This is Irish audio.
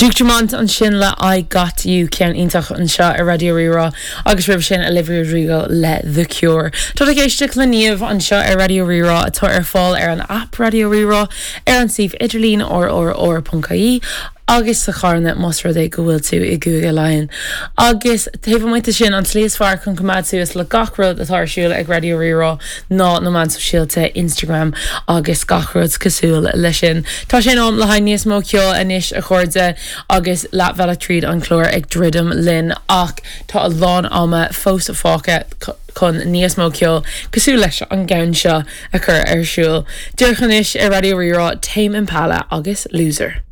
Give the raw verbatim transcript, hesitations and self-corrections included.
Duke Dumont ansin le I Got You ceann iontach anseo ar Raidió Rí-Rá agus roimhe sin Olivia Rodrigo le The Cure. Tá ag éisteacht le Niamh anseo ar Raidió Rí-Rá atá ar fáil ar an app Raidió Rí-Rá ar an suíomh idirlín rrr.ie agus sa charna más rud é go bhfuil tú i gCúige Laighean. Agus taobh amuigh de sin an tslí is fearr chun coimeád suas le gach rud atá ar siúl ag Raidió Rí-Rá ná na meáin sóisialta Instagram agus gach rud cosúil leis sin. Tá sé in am le haghaidh níos mó ceoil anois a chairde agus leathbhealach tríd an chlár ag druidim linn ach tá a lán ama fós fágtha chun níos mó ceoil cosúil leis an gceann seo a chur ar siúl. Díreach anois ar Raidió Rí-Rá Tame Impala agus Loser.